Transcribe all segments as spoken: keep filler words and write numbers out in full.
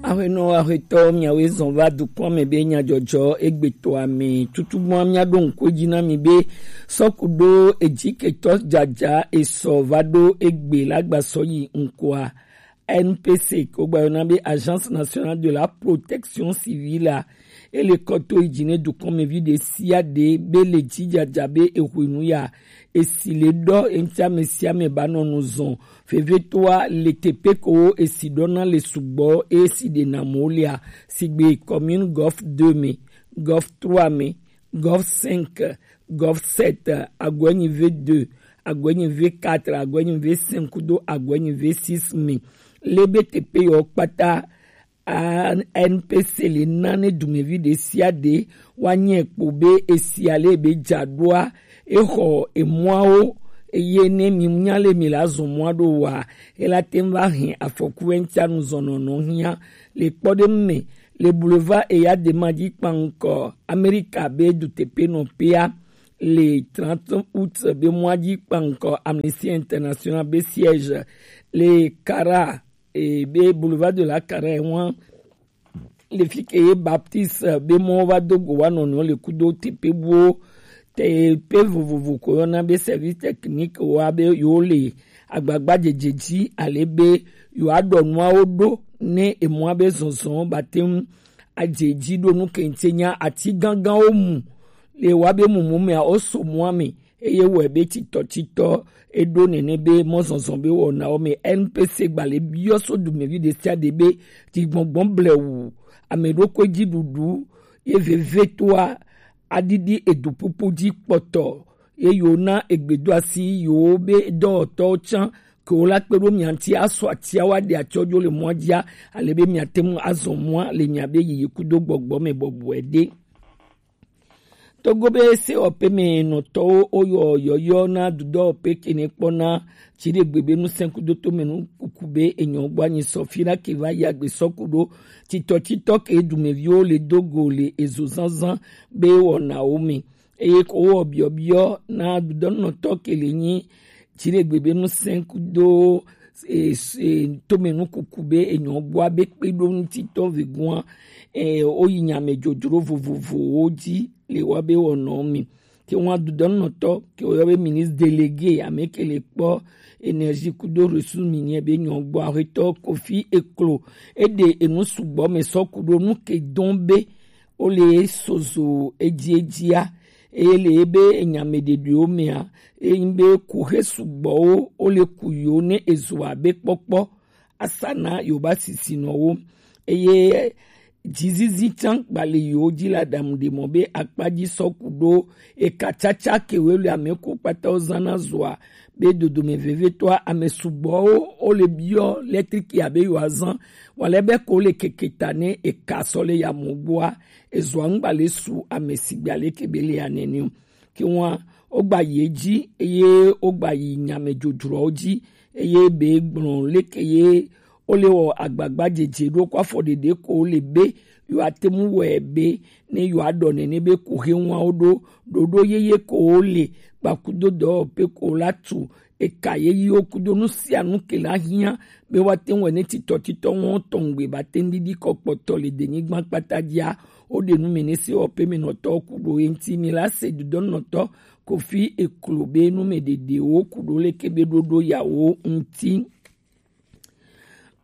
Ahuenɔ ahuetɔ, miawe zɔn va dukɔn me be nyajɔjɔ egbetɔ ame tutugbɔn, miaɖo ŋku edzi na mi be sɔku ɖo edziketɔ dzadza esɔ va ɖo egbe la gba sɔ yi ŋkɔa. N P C, ko gba yɔna be Agence Nationale de la Protection Civile a, ele kɔ to yi dzi ne dukɔnmevi ɖe sia ɖe be le dzi dzadza be ehwenu ya, esi le ɖɔ eŋti ame sia ame ba nɔ nu zɔn. Vevetoa le teƒe ko esi ɖɔna le sugbɔ, esi ɖe na mo lia, sigbe commune Golf deux me, Golf trois me, Golf cinq, Golf sept, Aguenyi V deux, Aguenyi V quatre, Aguenyi V cinq kudo Aguenyi V six me. Le be teƒe yɔ kpata, A N P C le na ne dumevi ɖe sia ɖe wa nyɛ kpo be esia le be dza ɖoa, exɔ emɔawo, eye ne mi nya le mi la zɔn mɔa ɖo wa, ela te ŋu va hɛn afɔku eŋtia nu zɔn nɔnɔ hia. Le kpɔɖeŋu me, le boulevard Eyadema dzi kpankɔ Amerika be duteƒenɔƒea, le trente août be mɔa dzi kpankɔ Amnesty International be siège le Kara, e, be boulevard de la Kara ŋua, le fi ke ye Baptiste be mɔ va do go wa nɔnɔ le kudo teƒe buwo, teƒe vovovo ko yɔna be service technique wa be yo le agbagba dzedze dzi ale be yo aɖɔ nuawo ɖo ne emɔa be zɔzɔ ba te ŋu adze dzi ɖo nu kente nya ati ganganwo mu le wa be mumu mea wo so mɔa me. Eye wɔe be titɔtitɔ eɖo nene be mɔzɔzɔ be wɔnawo me. N P C gba le biɔ so dumevi ɖe sia ɖe be dzigbɔgbɔ blewu, ame ɖokui dzi ɖuɖu ye vevetoa aɖiɖi eduƒuƒu dzi kpɔtɔ, ye yo na egbedoasi yo be dɔwɔtɔwo tsã ke wo la kpe ɖo mia ŋuti asɔ atia wa ɖe atsɔ dzo le mɔa dzia, ale be miate ŋu azɔ mɔa le miabe yiyi kudo gbɔgbɔ me bɔbɔe ɖe. Togo be sewɔƒe me nɔtɔwo woyɔ yɔyɔ na dudɔwɔƒe kene kpɔna dziɖegbe be nusẽkudo tome nu kuku be enyɔ gbɔ anyi sɔ fi na ke va yi agbe sɔ ku ɖo titɔtitɔ ke dumeviwo le do go le ezo zazã be wɔnawo me. Eye ko wɔ biɔbiɔ na dudɔnɔtɔ ke le nyi dziɖegbe be nusẽkudo e, e, tome nu kuku be enyɔ gbɔa be kpeɖoŋutitɔ vegua, e, woyi nyamedzodzro vovovowo dzi le woabe wɔnɔ me. Ke ŋua dudɔnɔtɔ ke woyɔ be ministre délégué ame ke le kpɔ énergie kudo ressources minières be nyɔ gbɔ ahetɔ Kofi Eklo eɖe enu sugbɔ me sɔ ku ɖo nu ke dɔn be wole sozo edziedzia, eye le ebe enyameɖeɖewo mea, enyi be kuxe sugbɔwo wole ku yiwo ne ezu abe kpɔkpɔ asa na yewoba sisinɔwo, eye dzizizi tsã gbale yiwo dzi le aɖaŋu ɖe mɔ be akpa dzi sɔ ku ɖo eka tsatsa kewoe le ame ko kpata wo zãna zɔa be dodome vevietɔa ame sugbɔwo wole biɔ lɛtriki abe yewoazã, wale be ko le keke ta ne eka sɔ le yamɔ gbɔa, ezɔa ŋgba le su ame sigbe aleke be le ya nene o. Ke ŋua, wogba yi edzi eye wogba yi nyamedzodzroawo dzi eye be gblɔ leke ye wole wɔ agbagba dzedze ɖo ko afɔ ɖeɖe ko le be yewoate ŋu wɔe be ne yewoaɖɔ nene be kuxe ŋua wo ɖo ɖoɖo yeye ko wo le kpakudo dɔwɔƒe ko la tu eka yeyiwo kudo nu sia nu ke la hiã be woate ŋu wɔ ne titɔtitɔ ŋɔ tɔŋgbe ba te ŋu ɖiɖi kɔ kpɔtɔ le denyigba kpata dzia, woɖe nu me ne sewɔƒe me nɔtɔwo ku ɖo ye ŋuti. Mi la se dudɔnɔtɔ Kofi Eklo be nu me ɖeɖewo ku ɖo leke be ɖoɖo yawo ŋuti.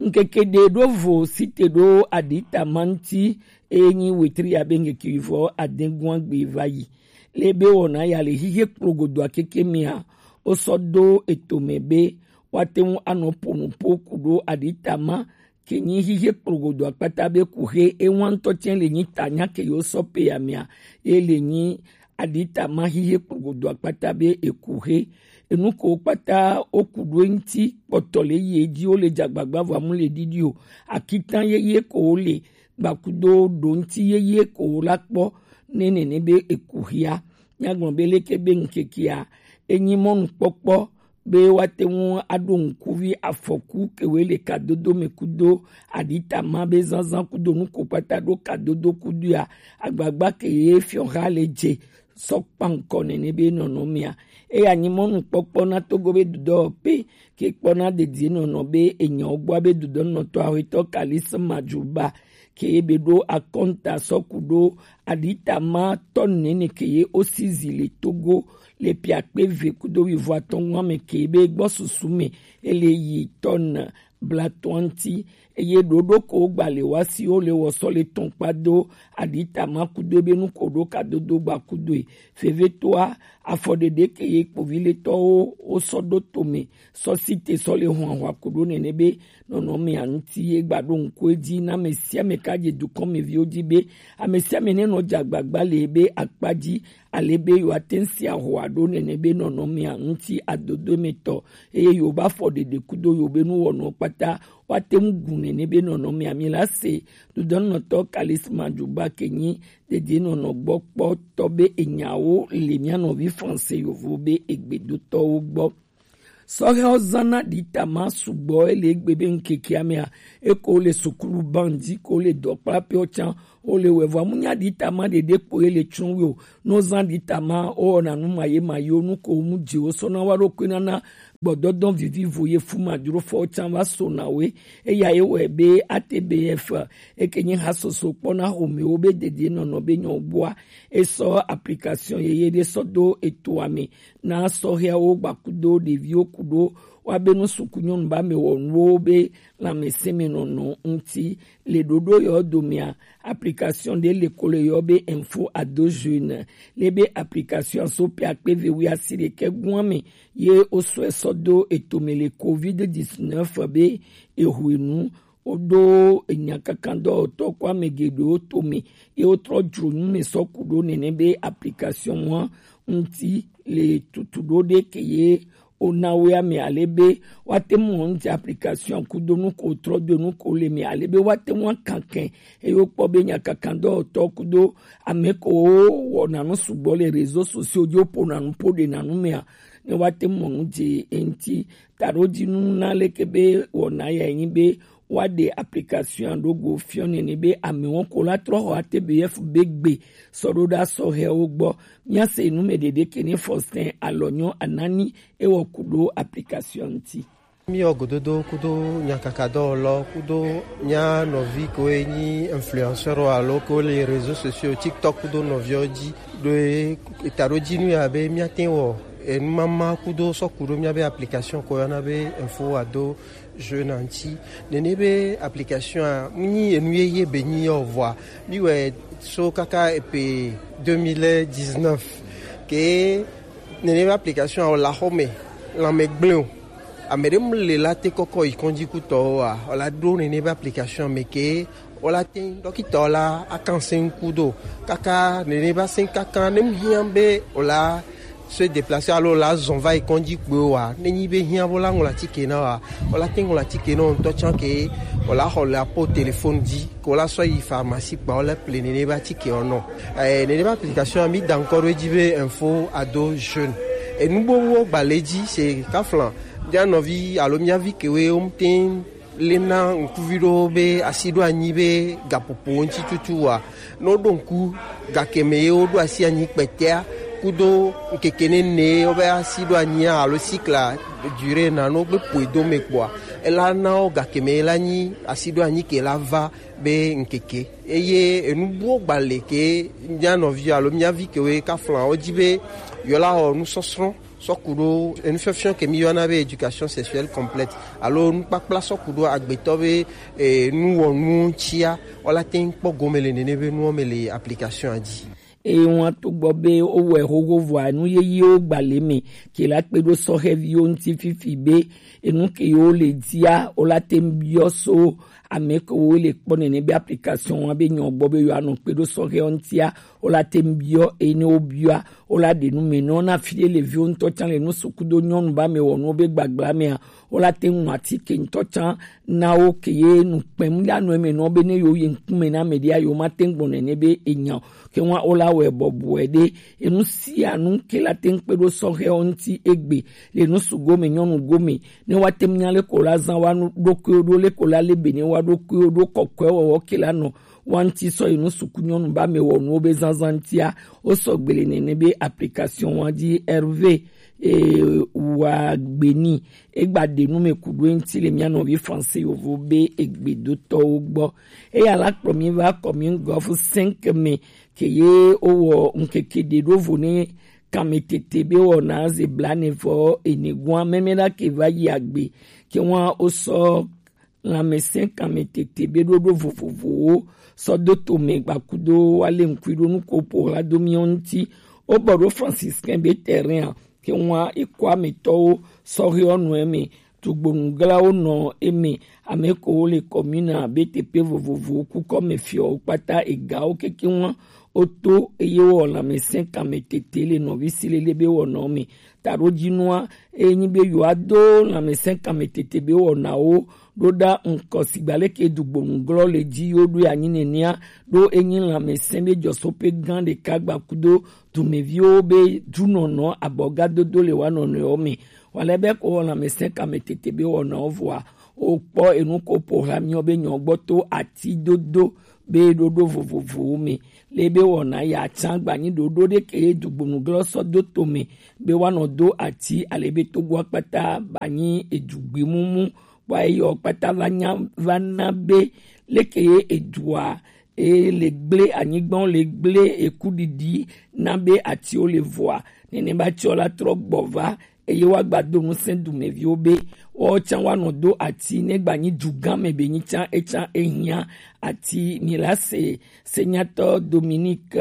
Ŋkeke ɖe ɖo vo site ɖo aɖitama ŋuti eye nyi wetri abe ŋkeke vɔ adegua gbe va yi. Le be wɔna ya le xixe kplogodoa keke mea, wosɔ do eto me be woate ŋu anɔ ƒo nu ƒo ku ɖo aɖitama ke nyi xixe kplogodoa kpata be kuxe ewa ŋutɔ tsɛ le nyi ta nya ke yewo sɔ pe ya mea, ye le nyi aɖitama xixe kplogodoa kpata be ekuxe. Enu ko kpata woku ɖo eŋuti kpɔtɔ le yi edzi wole dze agbagba vɔ amu le ɖiɖi o. Akitan yeye ko wole gbakudo ɖo ŋuti yeye ko wola kpɔ ne nene be ekuxia. Nyagblɔ be leke be ŋkekea enyi mɔnukpɔkpɔ be woate ŋu aɖo ŋkuvi afɔku kewoe le kadodo me kudo aɖitama be zazã kudo nu ko kpata ɖo kadodo kudoa, agbagba ke ye fiɔha le dze sɔ kpankɔ nɛnɛ be nɔnɔ mia. Eya nyi mɔnukpɔkpɔ na Togo be dudɔ pe ke kpɔ na dedie nɔnɔ be enyawo gbɔ be dudɔ nɔtɔ ahwetɔ Kalis Madjuba ke be ɖo akɔnta sɔku ɖo aditama tɔ nɛnɛ ke ye osi zi le Togo le piakpe ve kudo wivo atɔn ŋua me ke be gbɔ susu me ele yi tɔn blatɔnti eye ɖoɖo ko gba le wa si wo le wɔ sɔ le tɔn kpa do aditama kudo be nu ko ɖo ka dodo gba kudo e. Vevetoa afɔɖeɖe ke ye kpovi le tɔwo wo sɔ ɖo tome sɔ si te sɔ le hɔn ahwa kudo nɛnɛ be nɔnɔ mia ŋuti ye gba ɖo ŋku edzi na ame sia ame ka dze dukɔ me viwo dzi be ame sia ame ne nɔ dze agbagba le be akpa dzi ale be yewoate ŋu si ahɔa ɖo nɛnɛ be nɔnɔmea ŋuti adodo me tɔ eye yewo ba fɔ ɖeɖe kudo yewo be nuwɔnuwo kpata woate ŋu gu nɛnɛ be nɔnɔmea mi la se dudɔnɔtɔ Kalis Madjuba ke nyi dedienɔnɔ gbɔ kpɔtɔ be enyawo le mia nɔvi France yovo be egbedotɔwo gbɔ. Sɔhɛwo zãna ɖitama sugbɔ ele egbe be ŋkekea mea eko le sukulu ban dzi ko le dɔkplapewo tsã wo le wɛvɔ amunya ɖitama ɖeɖe kpo ele tsrɔ̃ wo no zã ɖitama o na nu ma ye ma yo nu ko mu dzi wo sɔna wa ɖo koe nana gbɔdɔdɔ vivivo ye fu madrofɔ tsã va so na we eya ye wɛ be A T B F eke nye ha soso kpɔ na homewo be dedienɔnɔ be nyɔ gbɔa esɔ application yeye ɖe sɔ do etoa me na sɔhɛawo gbakudo ɖeviwo kudo woabe nu suku nyɔnu ba me wɔ nuwo be lãmesẽmenɔnɔ ŋuti le ɖoɖo yɔ domea application ɖe le ko le yɔ be info ado jeune le be application so pe akpe ve wi asi ɖekɛ gua me ye wosɔe sɔ do etome le covid dix-neuf be ehwenu woɖo enyakakadɔwɔtɔ kɔ ame geɖewo tome ye wotrɔ dzro nu me sɔ ku ɖo nene be application wa ŋuti le tutu ɖo ɖe ke ye wona woe ame ale be woate ŋu wɔn ŋuti application kudo nu ko trɔ do nu ko le me ale be woate ŋu akanke eye wokpɔ be nyakakadɔwɔtɔ kudo ame ko wɔna nu sugbɔ le réseaux sociaux dzi wopona nu po ɖe na nu mea ne woate ŋu wɔn ŋuti eŋuti taɖodzinu na leke be wɔna ya nyi be woaɖe application ɖo go fiɔ nene be amewo ko la trɔ xɔ A T B F be gbe sɔ ɖo ɖa sɔhɛwo gbɔ. Míase nu me ɖeɖe ke ne Faustin Alɔnyɔ Anani ewɔ ku ɖo application ŋuti. Míwɔ gododo kudo nyakakadɔwɔlɔ kudo mía nɔvi ko nyi influenceur alo ko le réseaux sociaux TikTok kudo nɔviwo dzi ɖo taɖodzinu ya be míate wɔ enumama kudo sɔ ku ɖo míabe application ko yɔna be info ado jeune ŋuti. Nene be application a mu nyi enu yeye be nyi yɔ vɔa mi wɛ so kaka epe deux mille dix-neuf ke nene be application a wɔ la xɔ me lãme gblẽ o. Ame ɖe mu le la te kɔkɔ yi kɔndzi kutɔwo a wɔ la ɖo nene be application me ke wɔ la te dɔkita wɔ la akan se ŋku do kaka nene be ase kaka ne mu hiã be wɔ la se déplacer alo la zɔn va yi kɔndzi kpɔe wa ne nyi be hiã bo la ŋlɔ atike na wa wɔ la te ŋlɔ atike na ŋutɔ tsã ke wɔ la xɔ le apo téléphone dzi ko la sɔ yi pharmacie kpa wɔ la ple nene be atike wɔ nɔ. Eh, nene be application mi da ŋkɔ ɖo edzi be info ado jeune enu bo wo gba le dzi se kaflan mía nɔvi alo mía vi kewe wo te lena ŋkuvi ɖewo be asi ɖo anyi be gaƒoƒo ŋuti tutu wa ne woɖo ŋku gakeme ye woɖo asi anyi kpɛtɛa kudo ŋkeke nene wobe asi ɖo anyia alo sikla dure na no gbe ƒoe do me kpɔa ela na wo gakeme la nyi asi ɖo anyi ke la va be ŋkeke eye enu buwo gba le ke mía nɔvi alo mía vi kewe kaflan wo dzi be yewola wɔ nusɔsrɔ̃ sɔku ɖo enufiɔfiɔ ke mi yɔna be éducation sexuelle complète alo nukpakpla sɔku ɖo agbetɔ be eh, nuwɔnuwo ŋutia wola te ŋu kpɔ gome le nene be nuwo me le application dzi. Eye ŋua to gbɔ be wowɔe xoxo vɔa nu yeyewo gba le me ke la kpe ɖo sɔhɛviwo ŋuti fifi be enu ke yewo le dia wola te ŋu biɔ so ame kewo le kpɔ nene be application wa be nyɔ gbɔ be yewoanɔ kpe ɖo sɔhɛwo ŋutia wola te ŋu biɔ eye ne wobiɔa wola ɖe nu me nɔ na fi ɖe le viwo ŋutɔ tsã le nu suku do nyɔnu ba me wɔ nuwo be gbagba mea wola te ŋu atike ŋutɔ tsã na wo ke ye nu kpɛm la nɔ eme nɔ be ne yewo yi ŋkume na ame ɖea yewo ma te ŋu gbɔ nene be enya o ke ŋua wola wɔe bɔbɔe ɖe enu sia nu ke la te ŋu kpe ɖo sɔhɛwo ŋuti egbe le nu sugo me nyɔnu gome ne woate ŋu nya leko la zã wa nu ɖokuiwo ɖo leko la le be ne wa ɖokuiwo ɖo kɔkɔe wɔwɔ ke la nɔ wa ŋuti sɔ yi nu suku nyɔnu ba me wɔ nuwo be zanzan ŋutia, wo sɔ gbele nene be application wa ji R V e wa gbe ni. E gba ɖe nu me ku ɖo eŋuti le mía nɔvi français yovo be egbedotɔwo gbɔ. Eya la kplɔ mi va commune Golf cinq me ke ye wowɔ ŋkeke ɖe ɖo vo ne kanmetete be wɔna ze blaene vɔ ene gua mɛmɛ ɖa ke va yi agbe ke wa wo sɔ lãmesẽ kanmetete be ɖoɖo vovovowo sɔ do to me gbakudo wa le ŋkui ɖo nu ko po hla do miɔ ŋuti. Wo bɔ ɖo franciscain be terrain a ke wa ekɔ ametɔwo sɔ he ɔnu eme tugbonuglawo nɔ eme, ame ko wo le commune a be teƒe vovovowo kukɔ me fiɔ wo kpata egawo keke wa wo to eye wɔ lãmesẽ kanmetete le nɔvi si lele be wɔnɔ me. Taɖodzinua, eye nyi be yewoado lãmesẽ kanmetete be wɔnawo ɖo ɖa ŋkɔ sigba leke dugbonuglɔ le dzi yewo ɖo anyi nenea, ɖo enyi lãmesẽ be dzɔsoƒe gã ɖeka gbakudo dumeviwo be dunɔnɔ abɔgadodo le wa nɔnɔewo me. Wale be ko wɔ lãmesẽ kanmetete be wɔnawo vɔa, wokpɔ enu ko ƒo hla miɔ be nyɔ gbɔ to ati dodo be ɖoɖo vovovowo me. Le be wɔna ya tsã gbanyi ɖoɖo ɖe ke dugbonuglɔ sɔ do to me be woanɔ do ati ale be togoa kpata banyi edugbi mumu. Kpɔ eyɔ kpata va nya va na be leke ye edua e le gble anyigbawo le gble eku ɖiɖi na be atiwo le vɔa. Nene ba tiɔ la trɔ gbɔ va eye woagba do ŋusẽ dumeviwo be woawo tsã woanɔ do ati ne gbanyi dugã me be nyi tsã etsã ehiã ati. Mi la se senyatɔ Dominique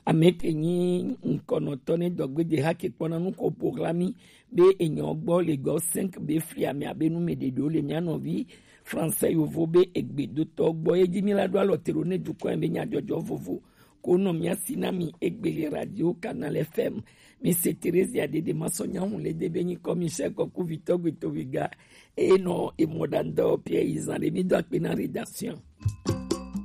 ame ke nyi ŋkɔnɔtɔ ne dɔgbede ha ke kpɔna nu ko ƒo hla mi be enyɔ gbɔ le gɔ cinq be fli ame abe nu me ɖeɖewo le mia nɔvi français yovo be egbedotɔ gbɔ ye dzi mi la ɖo alɔ te ɖo ne dukɔ be nyadzɔdzɔ vovo ko nɔ mia si na mi egbe le radio Canal F M. Mi se Theresia Dede Masɔnya Hun le de be nyikɔ Michel Kɔku Vitɔ Gbetoviga eye nɔ emɔ ɖandɔ Pierre Izan ɖe mi do akpe na rédaction.